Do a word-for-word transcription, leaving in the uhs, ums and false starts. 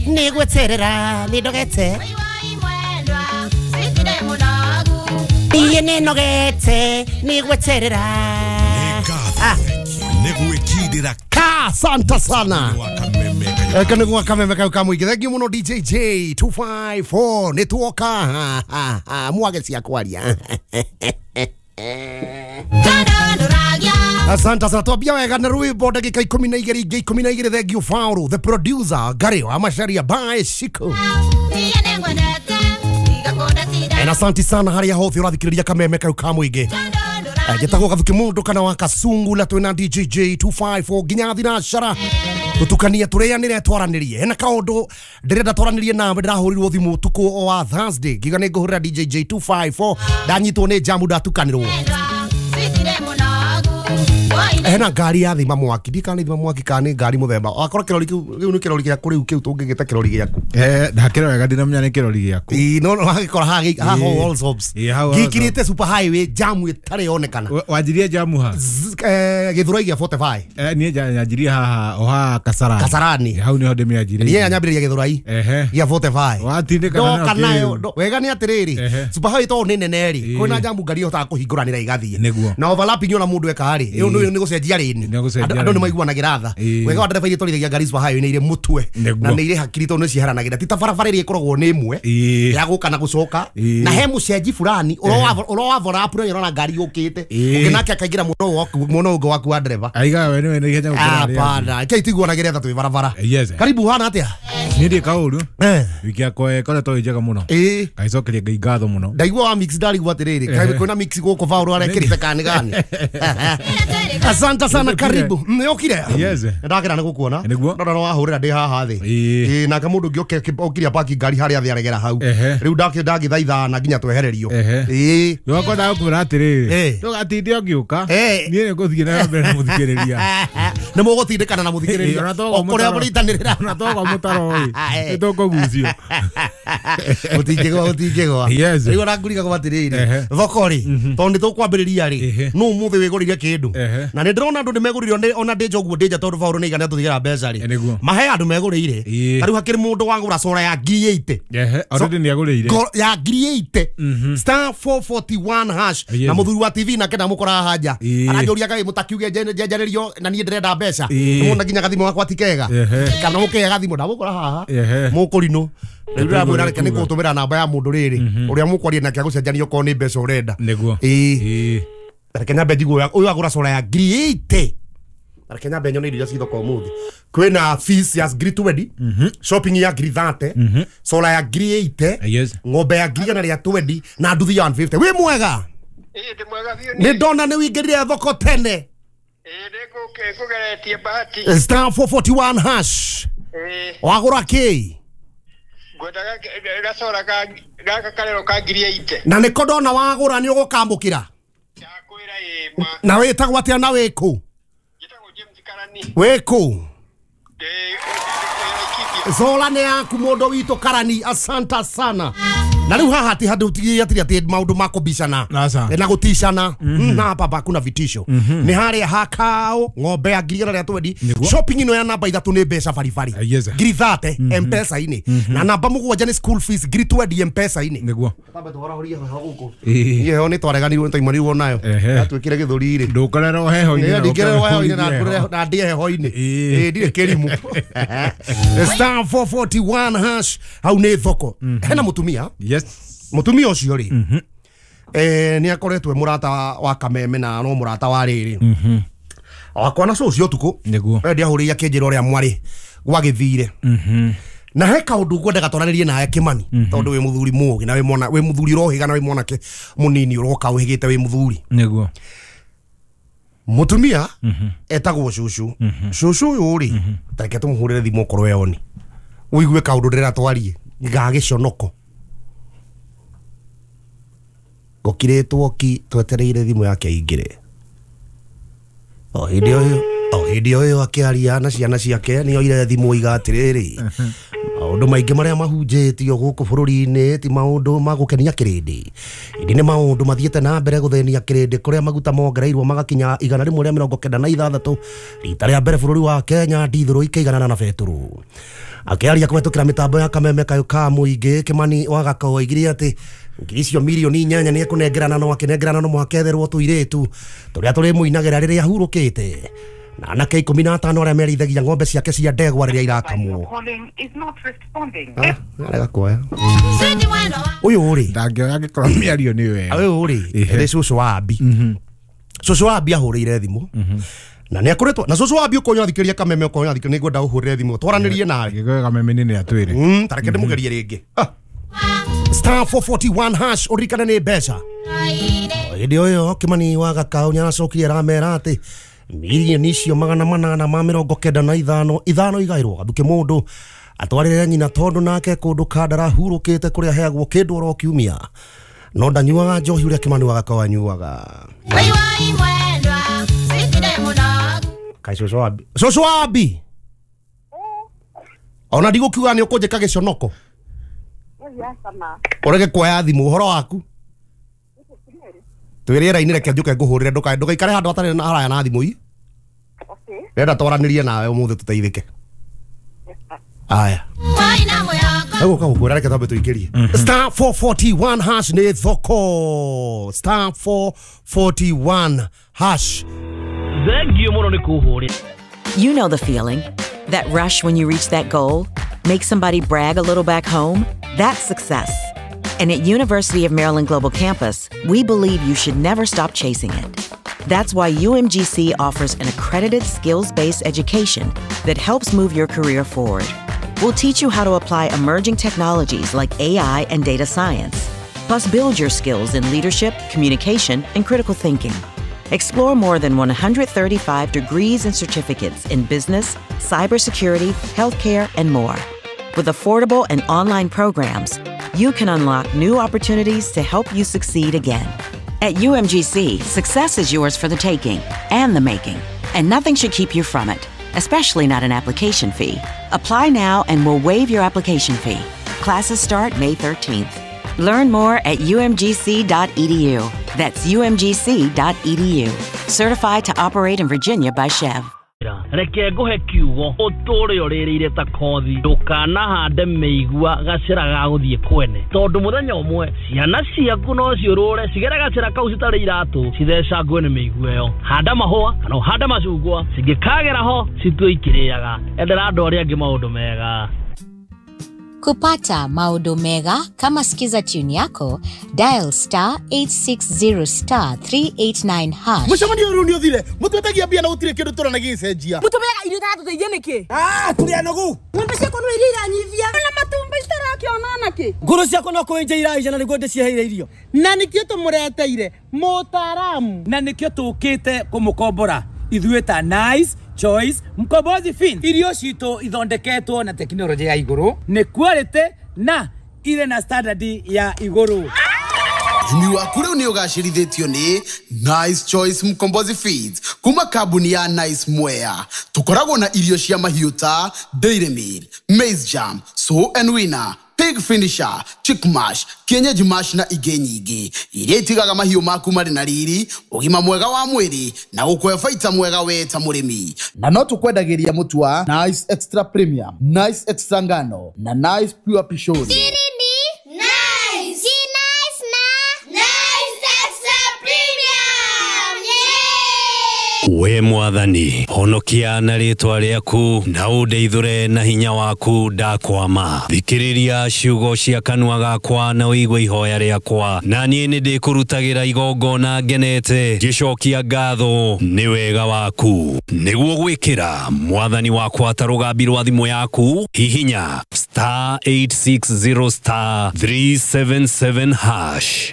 Nĩ gweterera nĩ ndogete. Iye nĩ nogete nĩ gweterera. Ah. Nĩ Ka santa sana. Eka nĩ kameme kau kamũingĩ. Thank you mũno D J J two five four nĩ tuoka mwage cia kwaria. Asante sana twambia wega na rwimbo ndagika ikumi na igĩrĩ ingĩ ikumi na igĩrĩ. Thank you Fauru the producer Gary wa Macharia by Shiko. Na asante sana harĩa hothe ũrathikĩrĩria kameme kau kamũingĩ. Gĩtagwo Gathuki Mũndũ kana wa Kasungula twĩna D J J two five four nginya thinacara tutukanie tũrĩanĩre twaranĩrie. Hena kaũndũ ndĩrenda twaranĩrie nawe, ndĩrahũrirwo thimũ ũtukũ wa Thursday ngiuga nĩ ngũhũrĩra D J J two five four, ndanyitwo nĩ jamu ndatukanĩrwo. Hena ngari ya thima mwaki, ndikana nĩ thima mwaki kana nĩ ngari mũthemba wakorwo kĩrori kĩu kĩu nĩ kĩrori gĩaku rĩu kĩu tũngĩgĩta kĩrori gĩaku. Eh ndakĩrora wega ndinamenya nĩ kĩrori gĩaku. Ĩĩ no no wagĩkora haha haha Allsops gĩkirĩte super highway jamu ĩtarĩ yonekana. Wanjirie jamu ha eh Gĩthũrai gĩa forty five. Eh niĩ nyanjirie haha o haha Kasarani. Kasarani hau nĩho ndĩmĩanjirie. Niĩ nyambĩrĩria Gĩthũrai gĩa forty five. Watindĩkana nayo wega nĩ atĩrĩrĩ super highway tondũ nĩ nene rĩ kwĩna jamu ngari ĩhotaga kũhingũranĩra igathiĩ na overlapping ona mũndũ eka rĩ ĩyo nĩ gũcenjia rĩni andũ nĩ maiguanagĩra tha. Wega wa ndereba iria twarithagia ngari super highway nĩ irĩ mũtwe na nĩ irĩ hakiri tondũ nĩ ciheranagĩra ti ta barabara ĩrĩa ĩkoragwo nĩ ĩmwe ya gũka na gũcoka na he mũcenji fulani ũro overlap na ũrona ngari yũkĩte ũngĩ nake akaingĩra mwena ũngĩ waku wa ndereba aiga we nĩ ihenya gũkĩra rĩrĩa hapana kei tiguanagĩra tha twĩ barabara. Karibu hana atĩa? Niĩ ndĩ kaũru wiki yakwa ĩkoretwo ĩ njega mũno ngaicokeria Ngai ngatho mũno. Ndaigua wa mix ndarigwo atĩrĩrĩ kwĩna mix gũkũ Faũrũ arekĩrĩte kana nĩ gani. Asante sana karibu. Nĩokire? Yes. Ndakĩra nĩ gũkuona. Ndona no wahũrĩra ndĩ haha thĩ. Ĩĩ nake mũndũ ũngĩ okiria parking ngari harĩa thĩ aregera hau. Rĩu ndakĩ ndagĩthaitha na nginya twehererio. Ĩĩ. Ndwakwa ndagũkwĩra atĩrĩrĩ ndũgatinde ũgĩũka niĩ nĩ ngũthiĩ na mbere na mũthikĩrĩria. Nĩ mũgũtindĩkana na mũthikĩrĩria o kũrĩa mũritanĩrĩra. Ona twagwa mũtaro ĩ nĩ tũkũgucio. Mũtingĩgwa mũtingĩgwa. Rĩu ona ngũriga atĩrĩrĩ thoko rĩ tondũ nĩ tũkwambĩrĩria rĩ nũ ũmũthĩ wĩgũrĩire kĩndũ na nĩ ndĩrona andũ nĩ megũrĩire ona ndĩ njoguo ndĩ nja tondũ Faũrũ nĩ igana tũthigĩra mbeca rĩ mahe andũ megũrĩire. Ta rĩu hakĩrĩ mũndũ wagũra cora ya ngiri eighty already nĩ agũrĩire ya ngiri eighty star four forty one hash na mũthuri wa T V nake ndamũkora haha nja aranjũria kaĩ mũtakiuge njenjanĩrio na niĩ ndĩrenda mbeca nĩmona nginya gathimũ gakwa ti kega kana mũkĩhe gathimũ ndamũkora haha mũkũrinũ. Rĩu ndĩramwĩra reke nĩ ngũtũmĩra namba ya mũndũ rĩrĩ ũrĩa mũkwaria nake agũcenjania okorwo nĩ mbeca ũrenda. Ĩĩ reke nyambe njigue ũyũ agũra cora ya ngiri eighty. Reke nyambe nyone irio iria ci thoko ũmũthĩ. Kwĩna fees ya ngiri twenty, shopping ya ngiri thirty, cora ya ngiri eighty, ng'ombe ya ngiri igana rĩa twenty na nduthi ya one fifty. Wĩ mwega? Ĩĩ ndĩ mwega biũ. Nĩ ndona nĩ wĩingĩrire thoko tene. Ĩĩ nĩ ngũgeretie bahati. Star four forty one hash. Wagũra kĩ? Ngwendaga gacora gaka karero ka ngiri eighty. Na nĩko ndona wagũra nĩ ũgũkamũkĩra. Ndakwĩra ĩĩ ma. Na wĩtagwo atĩa na wĩkũ? Njĩtagwo James Karani. Wĩkũ? Ndĩ Laikipia. Zola nĩ yaku mũndũ witũ Karani, asante sana. Na rĩu haha ti handũ atĩ atĩ maũndũ ma kũbicana na gũticana na hapa hakuna vitisho. Nĩ harĩa hakao ng'ombe ya ngiri igana rĩa twenty, shopping ĩno ya namba ithatũ nĩ mbeca baribari ngiri thirty M-Pesa-inĩ na namba mũgwanja nĩ school fees ngiri twenty M-Pesa-inĩ. Nĩguo tambe tũhorahũrie heho gũkũ. Niĩ heho nĩ twareganirwo nĩ twaimanirwo nayo yatuĩkire gĩthũri rĩ ndũkorerwo heho-inĩ ndingĩrerwo heho-inĩ na ndĩe heho-inĩ ĩĩ ndirĩ kĩrimũ. Star four forty one hash hau nĩ thoko. Hena mũtumia. Yes. Mũtumia ũcio rĩ eh nĩ akoretwo e mũrata wa Kameme na no mũrata wa rĩrĩ wakwa na cũcio ũtukũ ndiahũrĩire akĩnjĩra ũrĩa mwarĩ gwagĩthire na he kaũndũ ngwendaga twaranĩrie nawe Kĩmani tondũ wĩ mũthuri mũũgĩ na wĩ mwana wĩ mũthuri ũrohĩga na wĩ mwanake mũnini ũroka ũhĩgĩte wĩ mũthuri. Nĩguo mũtumia etagwo cũcũ. Cũcũ ũyũ rĩ tareke tũmũhũrĩre thimũ okorwo eoni ũigue kaũndũ ndĩrenda twarie ga gĩconoko. Gũkirĩtwo ki twetereire thimũ yake aingĩre o hĩndĩ ĩyo O hĩndĩ o ĩyo akĩaria na ciana ciake nĩ oire thimũ iga atĩrĩrĩ, maũndũ maingĩ marĩa mahunjĩtio gũkũ bũrũri-inĩ ti maũndũ ma gũkenia kĩrĩndĩ, ĩndĩ nĩ maũndũ mathiĩte na mbere gũthĩnia kĩrĩndĩ kũrĩa maguta mongereirwo magakinya igana rĩmwe rĩa mĩrongo kenda na ithathatũ rita rĩa mbere bũrũri wa Kenya ndithũrũ ikĩiganana na betũrũ. Akĩaria kũhetũkĩra mĩtambo ya kameme kayũ ka mũingĩ, Kimani wa Gakau oigire atĩ ngiri icio mirioni inyanya nĩ ekũnengerana no akĩnengerana no mũhaka etherwo tũirĩtu tũrĩa tũrĩmũinagĩra rĩrĩa ahurũkĩte, na anake ikũmi na atano arĩa merithagia ng'ombe ciake cia ndegwa rĩrĩa irakamwo. Arega kuoya ũyũ rĩ ndangĩoya angĩkorwo mĩario nĩ wega. Ũyũ rĩ nĩ cũcũ wa Abi. Cũcũ wa Abi ahũrĩire thimũ na nĩ akoretwo na cũcũ wa Abi ũkonywa thikĩria kameme ũkonywa thikĩria nĩ ngwenda ũhũrĩre thimũ twaranĩrie nawe gĩkoe kameme nĩ atwĩre. Ta reke ndĩmũgerie rĩngĩ. Star four forty-one hash ũririkane nĩ mbeca. Hĩndĩ o ĩyo Kimani wa Gakau nĩ aracokire aramera atĩ mirioni icio magana manana ma mĩrongo kenda na ithano ithano igairwo gathuke mũndũ atwarĩre nyina tondũ nake kũndũ kandara hurũkĩte kũrĩa aheagwo kĩndũ oro kiumia, no ndanyuaga njohi ũrĩa Kimani wa Gakau anyuaga. Kai cũcũ wa Abi, cũcũ wa Abi, ona ndigũkiuga nĩ ũkũnjĩka gĩconoko ũrege kuoya thimũ. Ũhoro waku twĩ rĩera-inĩ, reke njũke ngũhũrĩre, ndũgaikare handũ hatarĩ na haraya na thimũ ii. Ndĩrenda twaranĩrie nawe ũmũthĩ tũteithĩke. Aya egũka gũkwĩra, reke twambe tũingĩrie star four forty-one hash nĩ thoko. Star four forty-one hash. Thengiũ mũno nĩ kũhũrĩra. You know the feeling, that rush when you reach that goal, make somebody brag a little back home. That's success. And at University of Maryland Global Campus, we believe you should never stop chasing it. That's why U M G C offers an accredited skills-based education that helps move your career forward. We'll teach you how to apply emerging technologies like A I and data science, plus build your skills in leadership, communication, and critical thinking. Explore more than one hundred thirty-five degrees and certificates in business, cybersecurity, healthcare, and more. With affordable and online programs, you can unlock new opportunities to help you succeed again. At U M G C, success is yours for the taking and the making, and nothing should keep you from it, especially not an application fee. Apply now and we'll waive your application fee. Classes start May thirteenth. Learn more at U M G C dot E D U. That's U M G C dot E D U. Certified to operate in Virginia by C H E V. Reke nguhe kiugo uture uririire ta kothi ndukanahande mĩigua gacĩra ga gũthiĩ kwene tondu muthenya ũmwe ciana ciaku no ciũrũre cigere gacĩra kau citarĩ iratũ cithecangwe nĩ mĩigua ĩyo. Handa mahũa kana ũhande macungwa cingĩkagera ho citue ikĩrĩaga. Endera andũ arĩa angĩ maũndũ mega. Kupata maũndũ mega kama Skiza tune yako, dial star eight six zero star three eight nine hash. Mũcemanio ũyũ nĩ ũthire, mũtwetagia mbia na gũtirĩ kĩndũ tũrona gĩgĩcenjia. Mũtũmeaga irio itatũteithia nĩkĩ? Ah, tũrĩ anogu. Ng'ombe ciakwa no iria iranyivia. Na matumbĩ citarakĩona nakĩ? Ngũrũ ciakwa no kũenja iraija na nĩguo ndĩciheire irio. Na nĩkĩo tũmũreteire mũtaaramu. Na nĩkĩo tũkĩte kũmũkombora ithuĩ ta Nice Choice Mkombozi Fin. Irio citũ ithondeketwo na tekinoronjĩ ya igũrũ, nĩ quality na ire na standard ya igũrũ. Ũrĩmi waku rĩu nĩ ũgacĩrithĩtio nĩ Nice Choice Mkombozi Feeds kuma kambuni ya Nice Mwea. Tũkoragwo na irio cia mahiũ ta Dairy Meal, Maize Jam, Sow and Winner, Pig Finisher, Chick Mash, Kienyeji Mash na ingĩ nyingĩ iria itigaga mahiũ maku marĩ na riri, ũgima mwega wa mwĩrĩ na gũkũhe baita mwega we ta mũrĩmi. Na no tũkwendagĩria mũtu wa Nice Extra Premium, Nice Extra Ngano na Nice Pure Pishori. We mwathani honokia na rĩtwa rĩaku na ũndeithũre na hinya waku ndakwama. Thikĩrĩria ciugo cia kanua gakwa na ũigue ihoya rĩakwa, na niĩ nĩndĩkũrutagĩra igongona ngenete ngĩcokia ngatho nĩ wega waku. Nĩguo gwĩkĩra mwathani wakwa ta rũgambi rwa thimũ yaku, hihinya star eight six zero star three seven seven hash.